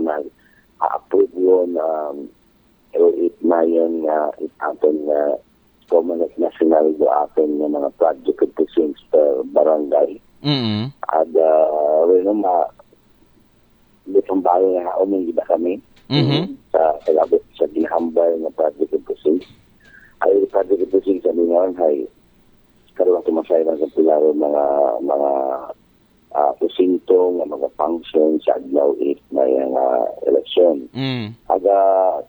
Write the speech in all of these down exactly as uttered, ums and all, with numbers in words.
na a-approve yun, um, pero it na yun nga, it aton nga Comelec National do aton nga mga project of precincts per barangay. Mm. At uh, rin ma, bitong bago nga umang gida kami Mhm. sa pag-abot sa ginahambal nga project of precincts. Ay, project of precincts, sabi nga, ay, karoon ako masaya sa pilaro mga, mga ah, presinto nga mga function sa adlaw eight na yung ah, eleksyon. Mm. Aga,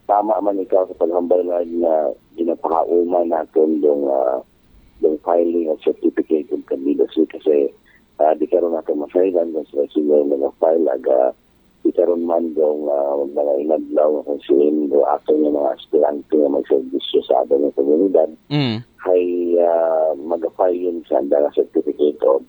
tama man ikaw sa paghambal nga, nga ginapahauman natin yung, ah, yung filing of certificate of candidacy kasi ah, di karon natin masayran kung sila sila yung nag-file, aga di karon man yung ah, mga inadlaw nga kung sino yung ato yung mga aspirante nga magserbisyo sa ato ng komunidad, Mm. ay ah, mag-file yun sa anda nga certificate of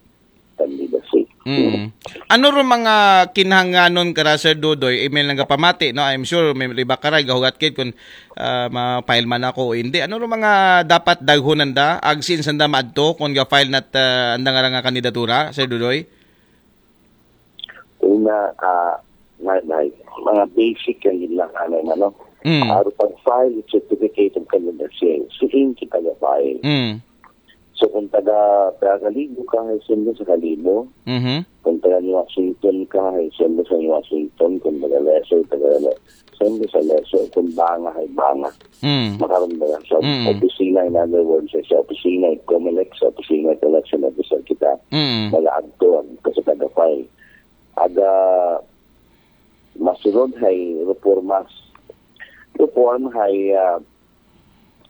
candidacy. Mm. Ano ro mga kinhanganon kara, Sir Dudoy? Email nga pamati, no? I'm sure may riba karay gahugat kit kung ah, ma-file man ako o hindi. Ano ro mga dapat daghonan da? Agsin sanda maadto kung ga-file nat ah, anda nga ra nga kandidatura, Sir Dudoy? Una, ah, na, na, mga basic ang yun lang, ano, ano. Mm. Para pag-file certificate of candidacy, saan kita ga-file? Mm. So, kung taga, taga Kalibo ka, ay send sa Kalibo. Mhm. Kung taga New Washington ka, ay send sa New Washington. Kung taga Leso, taga Leso, send sa Leso. Kung Banga, ay Banga. Mm. Makaroon ba yan? Sa Mm. opisina, in other words, sa opisina, Comelec, sa opisina, election officer kita. Mm. Mag-aadto, kasi taga-file. Aga, masunod, ay reformas. Reform, ay, ah,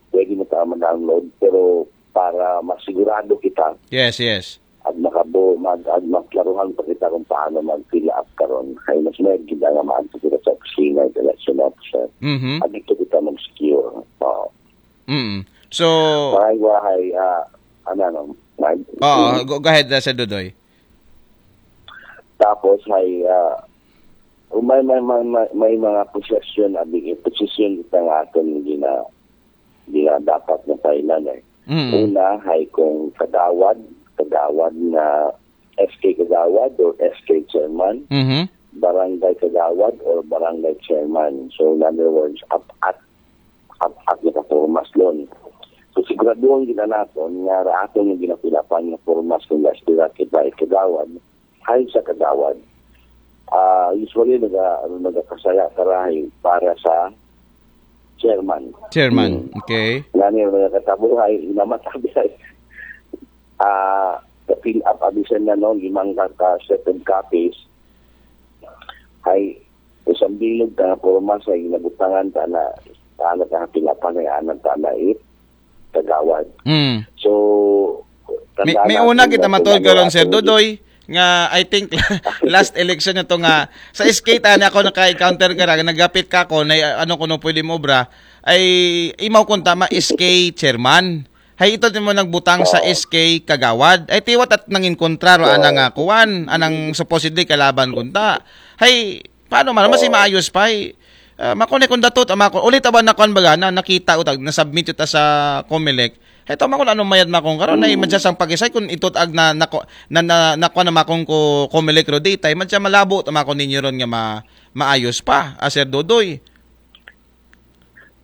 pwede mo tama download, pero para masigurado kita, Yes, yes. at makabo, mag, at maklaruhan pa kita kung paano mag-fill up karon. Ay mas may gid nga maadto kita sa opisina, election officer. Mhm. At dito kita mag-secure. Oo. Mm. So, Maray wahay, ah, ano, ano, mag- oh, go, go ahead, uh, Sir Dudoy. Tapos ay ah, may, may, may, may, may mga possession, abi, possession kita nga aton gina, gina dapat na kailan eh. Mm. Una ay kung kagawad, kagawad na S K kagawad or S K chairman, Mhm. barangay kagawad or barangay chairman. So in other words, up at up at nakapormas doon. So siguraduhan kita naton nga ra aton nga ginapilapan nga pormas kung aspirante kita ay kagawad, ay sa kagawad. Ah, usually naga ano nagakasaya karahay para sa chairman. Chairman. Okay. Ngani yung nagkatabuhay, inamatabi ay ah, ka-fill up abisan na no, limang ka, ka set of copies. Ay, isang bilog ka nga porma sa inabutangan ta na, ta na ka fill up na, anak ta na it, kagawad. Mm. So, May, tanda may natin una kita na matod kung karon, ano Sir ang- Dudoy, nga I think last election na to nga sa S K ta na ako naka-encounter ka ra, nagapit ka ako na ano kuno pwede mo obra ay imaw kung tama S K chairman. Hay ito din mo nagbutang sa Oo. S K kagawad. Ay tiwat at nangin kontra ro Oo. anang ah, kuwan, anang supposedly kalaban kunta. Hay paano man mas Oo. maayos pa ay ah, makone kung datot ama ko ulit aban na kuan baga na nakita utag na submit uta sa Comelec. Heto makon ano mayad makon karon ay madya sang pagisay kung itot ag na nako na, na nakuha na makon ko Comelec ro data ay madya malabo ta makon ninyo ron nga ma, maayos pa, ah, Sir Dudoy.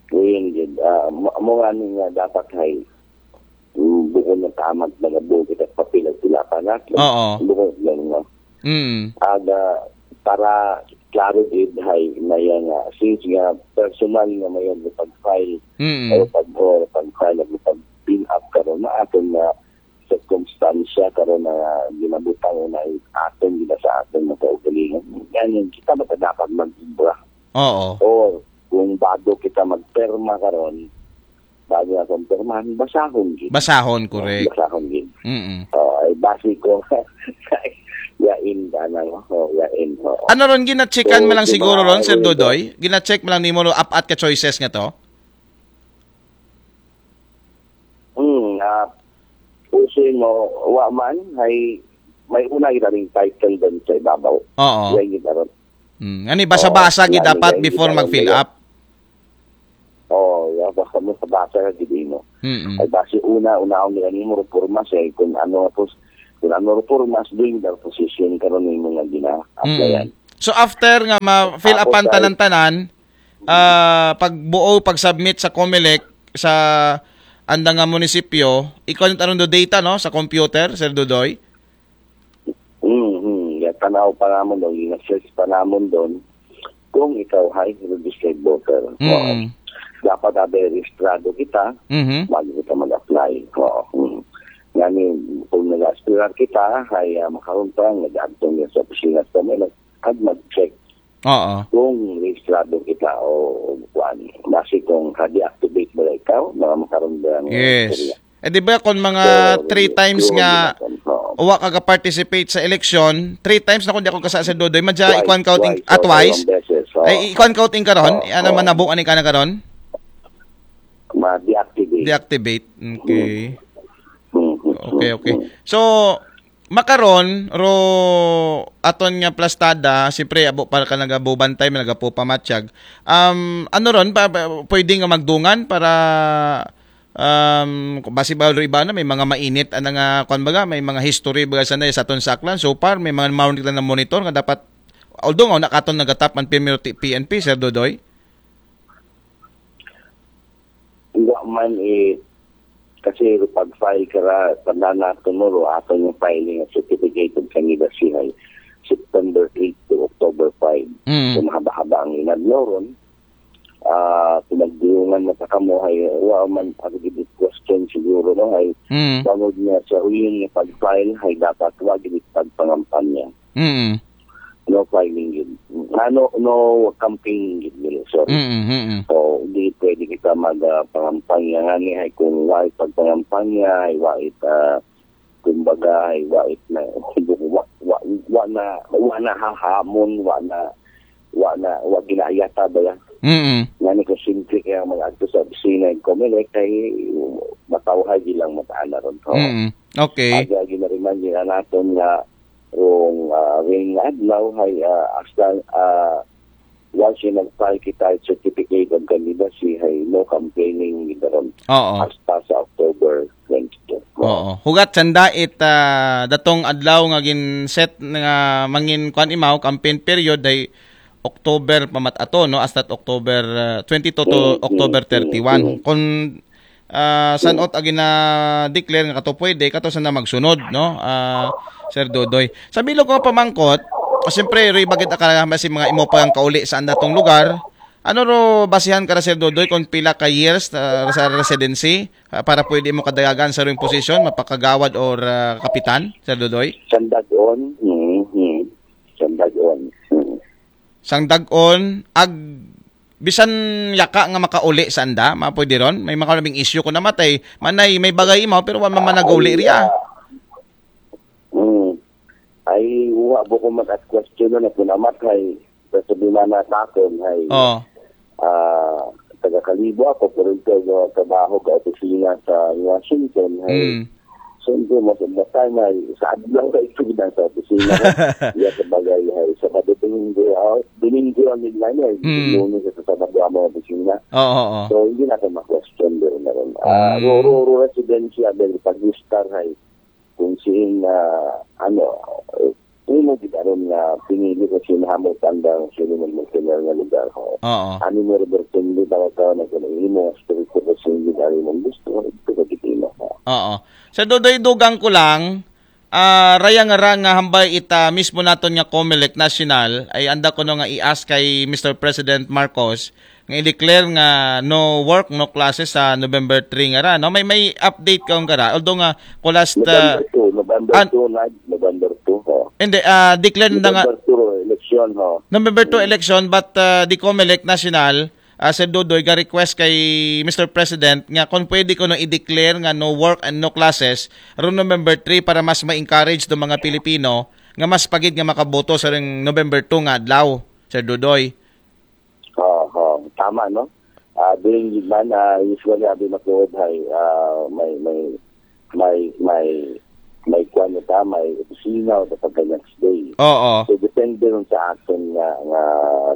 Kuya gid, ah, mo, mo nga ni nga dapat hay mm, bukod na tama nagabuo kita papel at sila pa na. Oo. Bukod lang no. Mm. Aga para klaro gid hay na yan nga since nga personal nga may pag-file Mm. o pag o pag-file o pag-fill up karon na aton na circumstance karon na ginabutang na aton gina sa aton mga kaugalingon. Yan yung kita ba dapat mag-ibra Oo. or kung bago kita magperma karon bago na kung permahan basahon gid. Basahon, correct. Basahon gid. Mm. Oh, ay base ko yain ka na no. Oh, yain. Oh. Ano ron ginachekan So, mo lang di ba, siguro ron, Sir ano yun? Dudoy? Ginacheck mo lang nimo ro apat ka choices nga to? Hmm, ah, uso mo wa man hay may una gid ring title din sa ibabaw. Oo. Yan gid aron. Mm. Ani basa-basa Oo, gid yan, dapat yan, before yan, mag-fill yan. Up. Oh, ya basta mo sa basa ka gid mo. Mm. Ay base una una ang nila nimo reforma sa kung ano pos kung ano reforma sa doing the position karon nimo nga gina-applyan. Mm. So after nga ma-fill Tapos upan ay- tanan-tanan, ah, pagbuo, pag-submit sa Comelec, sa anda nga munisipyo, ikuan aron do data, no, sa computer, Sir Dudoy? Hmm, hmm. Ya, tanaw pa namon doon, ina-search pa namon doon kung ikaw ay registered voter. Mm. Dapat abi rehistrado kita, Mhm. bago kita mag-apply. Oo. Hmm. Ngani, kung nag-aspirar kita, ay ah, makaroon pa, nag-adto niya sa opisina sa Comelec, at mag-check Oo. kung rehistrado kita o kuan. Basi kung ka-deactivate ba ikaw, mga makaroon ba ang Yes. istorya. Eh, di ba kung mga So, three times yun, nga yun, oo. wa ka participate sa election, three times na kung di ako kasala, Sir Dudoy, madya Twice, ikuan counting, twice, ah, oo, twice? dalawang beses, oo. Ay, ikuan counting karon? Oo, Ano oo. man nabuo ani ka na karon? Ma-deactivate. Deactivate. Okay. Hmm, hmm, Okay, hmm, okay. hmm. So, makaron, ro aton nga plastada, siyempre, abo para ka nagabubantay, nagapupamatsyag. Um, ano ron, pa, pa- pwede nga magdungan para um, basi ba ro iba na, may mga mainit, ano nga, kwan baga, may mga history baga sa, sa aton saklan. So far, may mga maunik na monitor nga dapat, although nga, nakaton nagatap ang P M P, Sir Dudoy? Wa man eh, kasi pag-file ka ra, tanda natin mo, ro, ato yung filing ng certificate of candidacy ay September eight to October five. Mm. So, mahaba-haba ang inadlaw ron. Ah, pinagdiyungan na sa kamo, ay, wa man, ang gid question siguro, no, ay, Mm. bangod niya sa huling niya pag-file, ay dapat wa gid pagpangampanya. Mm. No filing gid. Ano, no campaign gid nila, sorry. Mm, mm, mm. So, hindi pwede kita mag-pangampanya nga ni, ay kung wa pagpangampanya, ay wa it, ah, kumbaga, ay wa it na, wa, wa, wa na, wa na hahamon, wa na, wa na, wa ginaayata ba yan? Mm. Nga ni kung simple kaya mag-adto sa opisina ng Comelec, ay matawhay ilang mataana ron. So, Mm. Okay. Agi-agi na rin man din natin nga rong ah, ring adlaw, ay ah, hasta ah, once yung nag-file kita certificate of candidacy, ay no campaigning gid ron Oo. hasta sa October twenty-two. Oo. Hugat sanda it ah, datong adlaw nga gin-set nga mangin kwan imaw campaign period ay October pa mat-ato, no, hasta October ah, twenty-two to Mm, October mm, thirty-one. Mm. Kung ah, san-ot agi na declare nga kato pwede, kato sana magsunod, no? Ah, Sir Dudoy. Sa bilog ko pamangkot, siyempre, ri bagit akala si mga imo pang kauli sa andatong lugar. Ano ro basihan ka ra, Sir Dudoy, kung pila ka years ah, sa residency ah, para pwede mo kadayagan sa ring posisyon, mapakagawad or ah, kapitan, Sir Dudoy? Sandagon, mm, mm. Sandagon. Mm. Sang dag-on, ag bisan yaka nga makauli sa anda, mapwede ron? May mga labing issue ko namatay. Manay, may bagay imaw, pero wa man managauli riya. Hmm. Ay, wa po ko mag-ask question na kung namatay. Sa sabi man na sa akin, ay, Oh. ah, taga Kalibo ako, pero ito, yung trabaho ka opisina sa Washington, ay, Mm. siyempre, most of the time, ay, sa adlaw ka ito din sa opisina ko. Iya sa bagay, ay, sa Domingo, ah, Domingo ang nila, ay, Mm. Lunes sa Sabado ang mga opisina. Oo, oo. So, hindi natin ma-question doon na rin. Ah, Mm. ro, ro, ro, residensya, dahil pag-star, ay, kung sino na, ano, eh, hindi mo kita rin na pinili ko sinahamo tanda ng sino ng mga nga lugar ko. Oo. Ano mo, Roberto, hindi ba ka na kung hindi mo, spirito ko sa hindi dahil mong gusto, ito ka gitino ko. Oo. Sa Dodoy, dugang ko lang, ah, raya nga ra nga hambay ita mismo naton nga Comelec National, ay anda ko no nga i-ask kay Mister President Marcos, nga i-declare nga no work, no classes sa November three nga ra, no? May, may update ka kung kara? Although nga, ko last, ah, November two, November an- two, na, November two, ho. Hindi, ah, declare na nga, November two, election, ho. November two election, but ah, the Comelec National, ah, Sir Dodoy, ga-request kay Mister President nga kung pwede ko no i-declare nga no work and no classes ron November three para mas ma-encourage do mga Pilipino nga mas pagid nga makaboto sa ring November two nga adlaw, Sir Dodoy. Oo, oo. Tama, no? Ah, during the man, ah, usually, abi matuod, hay, ah, may, may, may, may, may kwan na ta, may opisina o kapag next day. Oo. So, depende rin sa action nga, nga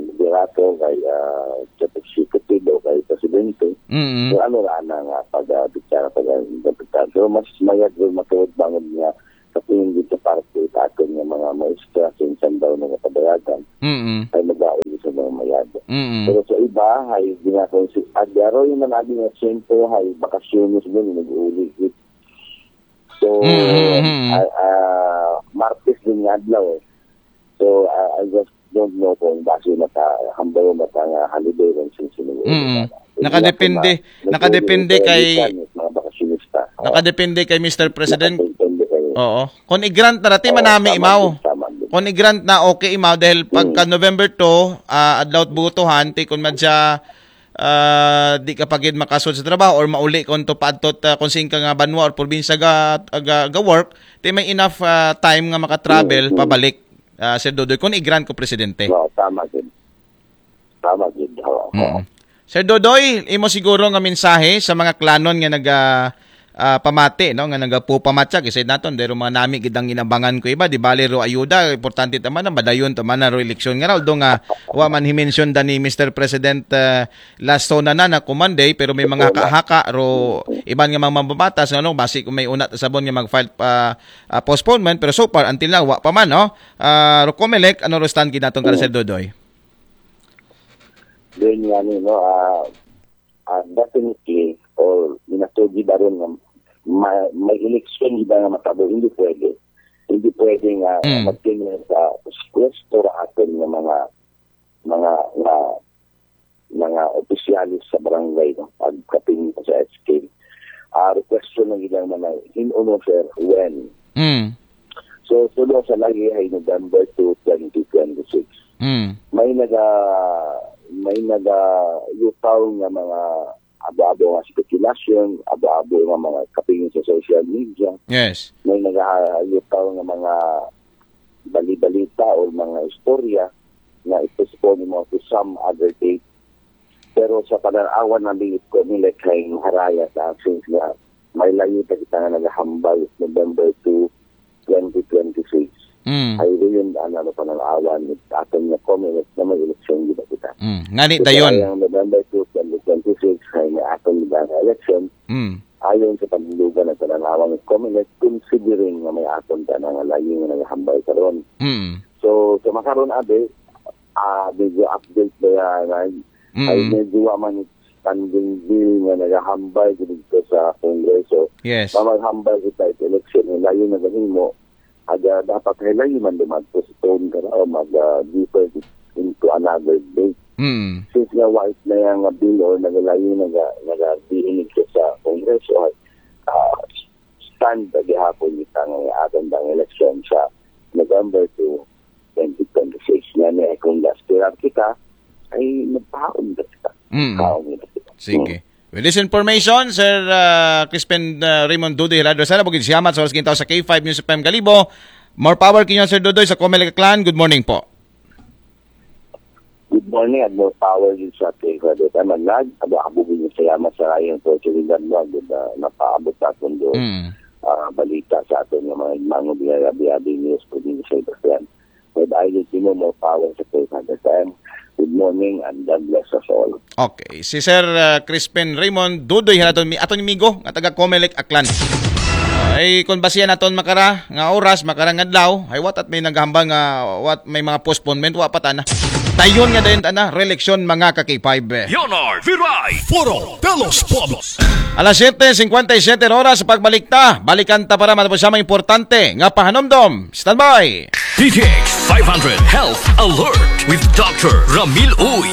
liderato kay, ah, chief executive o kay presidente. Mm. So, ano ra na nga pag, ah, bicara, pag, ah, interpretar. Pero mas mayad rin matuod bangod nga sa tingin dito para sa atin nga mga maestra sa isang daw nga kabayagan. Mm. Ay mag-auli sa mga mayad. Mm. Pero sa iba, ay ginakon si Adaro yung nanagi nga siyento, ay bakasyones din, nag-uli. So, Mm, mm, mm. ah, ah, Martes din nga adlaw eh. So, ah, I just don't know kung base na ka, hambal na ka nga holiday lang siya sinuwi. Mm. Nakadepende, nakadepende kay, Mga bakasyonista. Oo. Nakadepende kay Mister President. Nakadepende kay Oo. Kung i-grant na dati, Oo, manami tama imaw. Din, tama din. Kung i-grant na, okay imaw dahil pagka November two, ah, adlaw butuhan, ti kun madya, ah, di ka pagid makasud sa trabaho or mauli kon to paadtot, ah, kung saan ka nga banwa or probinsya ga, ga, ga work, ti may enough, ah, time nga makatravel Mm, mm. Pabalik, ah, Sir Dodoy, kung i-grant ko presidente. Oo, tama din. Tama din. Oo. Mm. Sir Dodoy, imo siguro nga mensahe sa mga klanon nga naga ah, pamati, no, nga nagapupamatya, kasi naton dero mga nami gid ang inabangan ko iba, di bali ro ayuda, importante ta man na madayon ta man na ro eleksyon nga raw, do nga wa man himensyonda ni Mister President, ah, last SONA na na kumanday, pero may mga haka-haka ro iban nga mga mambabatas, ano, basi kung may una ta sabon nga mag-file pa, ah, postponement, pero so far until now wa pa man, no. Ah, ro Comelec, ano ro stand gid naton kara, Sir Dodoy? Then nga ni, no, ah, ah, definitely, or minatugi ba rin nga ma- may eleksyon di ba nga matabo, hindi pwede. Hindi pwede nga Mm. magtingin sa pwesto ra atin nga mga mga nga mga opisyalis sa barangay, no, pagkapin sa S K. Ah, request na ilang mga hinuno, sir, when. Mm. So, tulo sa lagi ay November two, twenty twenty-six. Mm. May naga may naga lutaw nga mga abo-abo nga spekulasyon, abo-abo nga mga kapingin sa social media. Yes. May nagalutaw nga mga bali-balita o mga istorya na i-postpone mo to some other date. Pero sa pananawan namin ito, nila kay haraya sa action nga may layo pa kita nga nagahambal November two, twenty twenty-six. Mm. Ay, yun ang ano pananawan ni atin na Comelec na may eleksyon di ba kita. Mm. Ngani So, dayon. Ang November two, twenty twenty-six ay may atin ba nga eleksyon. Mm. Ayon sa panundugan ng pananawan ng Comelec, considering na may aton ka na nga layo nga nagahambal karon. Mm. So, sa makaron abi, ah, medyo update ba yan? Ay, ay Mm. medyo wa man standing bill nga nagahambal dito sa Kongreso. Yes. Mamaghambal kita sa election, yung layo na ganun mo, aga dapat ay layo man din mag-postpone ka na o mag-defer into another date. Mm. Since nga white na yung nga bill or nagalayo, naga, nagabihinig siya sa Kongreso, ay, ah, stand na gihapon kita nga aton bang eleksyon sa November two, twenty twenty-six. Nga niya, kung aspirar kita, ay magpahaon na kita. Mm. Pahaon na kita. Sige. With this information, Sir, ah, Crispin, ah, Raymond Dudoy Hirado, sana bukid siyamat sa oras kintaw sa K five News F M Kalibo. More power kinyo, Sir Dudoy, sa Comelec Clan. Good morning po. Good morning, at more power din sa ating Radyo Tamanlag. Abo-abo din yung salamat sa kayong oportunidad mo. Good, ah, napaabot sa atin doon. Mm. Ah, balita sa atin ng mga mango biyarabi-abi news po din sa iba yan. May bahay din mo, more power sa ating Radyo Tamanlag. Good morning and God bless us all. Okay. Si Sir, ah, Crispin Raymond Dudoy, hanaton mi, aton migo, nga taga Comelec Aklan. Ay, kung basihan naton makara, nga oras, makara nga adlaw, ay what at may naghambal nga, what may mga postponement, wa pa tana. Tayon nga dayon tana, reeleksyon mga ka-K five. Leonard Viray. Foro de los Pueblos. Alas siyete singkwenta y siyete oras sa pagbalik ta. Balikan ta para matapos sa mga importante nga pahanumdom. Standby! D T X five hundred Health Alert with Doctor Ramil Uy.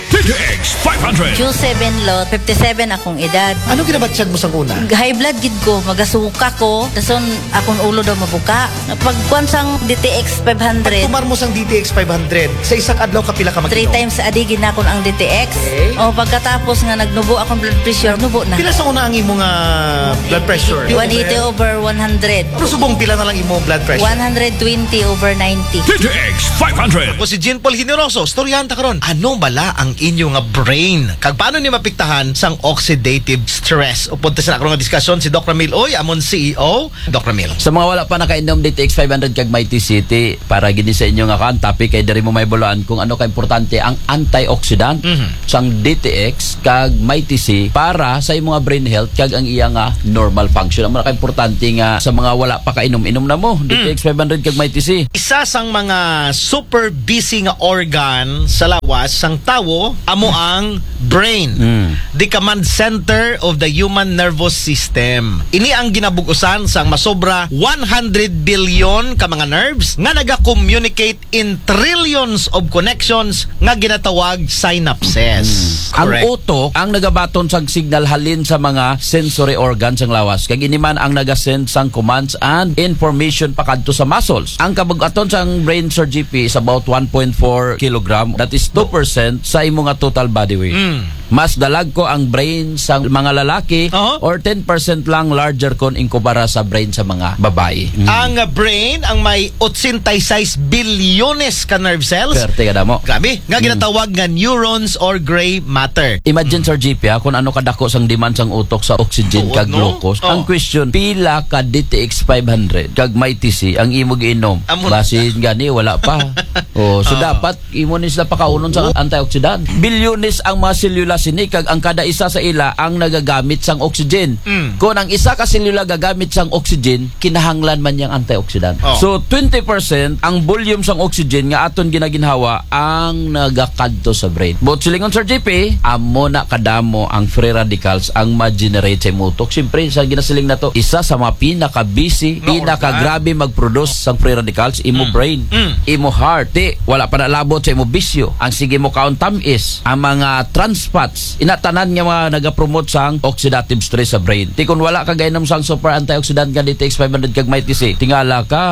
D T X five hundred. Q seven lot, fifty-seven akong edad. Ano ginabatyag mo sa una? High blood gid ko, magasuka ko. Dason akong ulo daw mabuka. Pagkuan sang D T X five hundred, Tumar mo sang D T X five hundred, sa isang adlaw kapila ka mag-inom? Three times a day ginakon ang D T X. Okay. O pagkatapos nga nagnubo akong blood pressure, nubo na. Pila sa una ang imo nga blood pressure? One eighty over one hundred. Pero subong pila na lang imo blood pressure? One hundred twenty over ninety. D T X five hundred. Ako si Jean Paul Generoso. Storyahan ta karon. Ano bala ang inyo nga brain. Kag paano ni mapiktahan sang oxidative stress? Upod ta sa ako nga diskusyon si Doc Ramil Uy, amon C E O. Doc Ramil. Sa mga wala pa nakainom D T X five hundred kag Mighty C, para gini sa inyo nga kan topic kay diri mo may bulaan kung ano ka importante ang antioxidant Mhm. sang D T X kag Mighty C para sa imong brain health kag ang iya nga normal function. Ang mga importante nga sa mga wala pa kainom, inom na mo D T X five hundred kag Mighty C. Isa sang mga super busy nga organ sa lawas sang tawo amo ang brain. Mm. The command center of the human nervous system. Ini ang ginabugusan sang masobra one hundred billion ka mga nerves nga naga-communicate in trillions of connections nga ginatawag synapses. Mm. Ang Correct. Utok ang nagabaton sang signal halin sa mga sensory organs sang lawas. Kag ini man ang nagasend sang commands and information pakadto sa muscles. Ang kabug-aton sang brain, Sir G P, is about one point four kilogram. That is two percent sa imo nga total body weight. Mm. Mas dalagko ang brain sa mga lalaki Aha. or ten percent lang larger kon inkumpara sa brain sa mga babae. Mm. Ang brain ang may ochenta y seis bilyones ka nerve cells. Perte ka damo. Grabe. Nga Mm. ginatawag nga neurons or gray matter. Imagine, Mm. Sir G P, ha, kung ano kadako sang demand sang utok sa oxygen Oo, kag no? glucose. Oh. Ang question, pila ka D T X five hundred kag Mighty C ang imo giinom? Amo na. Basin gani, wala pa. Oh, so Ah. dapat imo ni sila pakaunon sa antioxidant. Bilyones ang mga selula sini kag ang kada isa sa ila ang nagagamit sang oxygen. Mm. Kung ang isa ka selula gagamit sang oxygen, kinahanglan man yang antioxidant. Oh. So, twenty percent ang volume sang oxygen nga aton ginaginhawa ang nagakadto sa brain. But silingon, Sir G P, amo na kadamo ang free radicals ang ma-generate sa imong utok. Siyempre, sa ginasiling nato, isa sa mga pinaka-busy, Nga pinaka-grabe mag-produce sang free radicals, imo Mm. brain, Mm. imo heart. Di, wala pa nalabot sa imo bisyo. Ang sige mo kaon tamis, ang mga trans fats, ina tanan nga mga nagapromote sang oxidative stress sa brain. Ti kun wala ka gainom sang super antioxidant nga D T X five hundred kag Mighty C, tingala ka,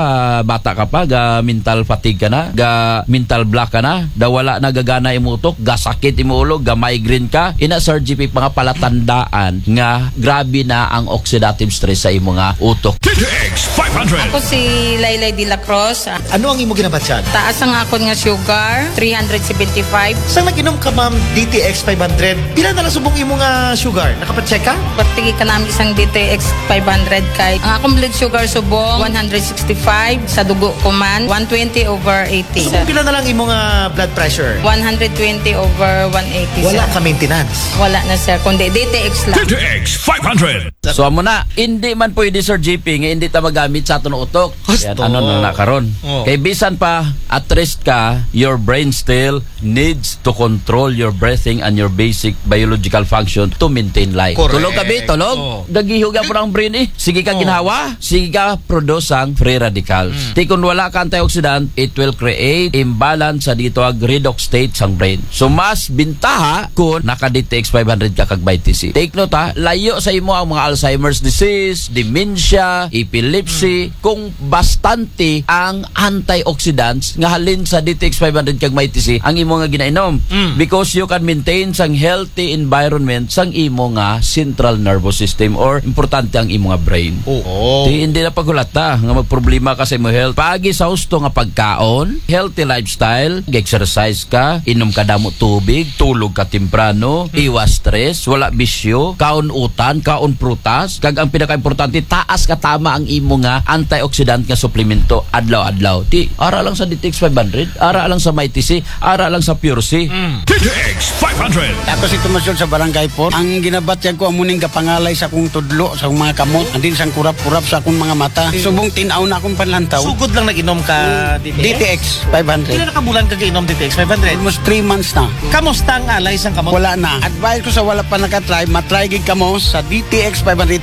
bata ka pa, ga mental fatigue ka na, ga mental block ka na, da wala na gagana imo utok, gasakit imo ulo, ga migraine ka, ina, Sir G P, mga palatandaan nga grabe na ang oxidative stress sa imo nga utok. D T X five hundred. Ako si Laylay de la Cruz. Ano ang imo ginabatyag? Taas ang akon nga sugar, three hundred seventy-five. Sang nag-inom ka, ma'am, D T X five hundred, pila na lang subong imo nga sugar? Nakapacheck ka? Pati ka namin isang D T X five hundred kay ang akong blood sugar subong one hundred sixty-five, sa dugo ko man, one twenty over eighty, Subong sir. Pila na lang imo nga blood pressure? One hundred twenty over one eighty, Wala sir. Ka maintenance? Wala na, sir, kundi D T X lang. D T X five hundred. So, amo na, hindi man pwede, Sir G P, nga hindi ta magamit sa aton utok. Gusto. Yan, ano na, na karon? Oh. Kay bisan pa, at rest ka, your brain still needs to control your breathing and your basic biological function to maintain life. Correct. Tulog ka, bi? Tulog? Oh. Gagiho gyapon ang brain, eh. Sige ka Oh. ginhawa, sige ka produce ang free radicals. Mm. Ti kun wala ka antioxidant, it will create imbalance sa dito ag redox state sang brain. So, mas bintaha kun naka D T X five hundred ka kag Mighty C. Take note, ha, layo sa imo ang mga Alzheimer's disease, dementia, epilepsy, Mm. kung bastante ang antioxidants nga halin sa D T X five hundred kag Mighty C ang imo nga ginainom. Mm. Because you can maintain sang healthy environment sang imo nga central nervous system or importante ang imo nga brain. Oo. Ti hindi na paghulata nga magproblema ka sa imo health. Paagi sa husto nga pagkaon, healthy lifestyle, exercise ka, inom ka damo tubig, tulog ka temprano, Mm. iwas stress, wala bisyo, kaon utan, kaon prutas, kag ang pinakaimportante, taas ka tama ang imo nga antioxidant nga suplemento adlaw-adlaw. Ti, ara lang sa D T X five hundred, ara lang sa Mighty C, ara lang sa Pure C. Mm. D T X five hundred. Ako si Tomas Yun sa Barangay four. Ang ginabatyag ko, amo ning gapangalay sa akong tudlo, sa akong mga kamot, and then sang kurap-kurap sa akong mga mata. Mm. Subong tin-aw na akong panlantaw. Sugod lang nag-inom ka Mm. D T X? D T X five hundred. Pila na ka bulan ka gainom D T X five hundred? Almost three months na. Kamusta ang alay sang kamot? Wala na. Advice ko sa wala pa nakatry, matry gid kamo sa D T X five hundred.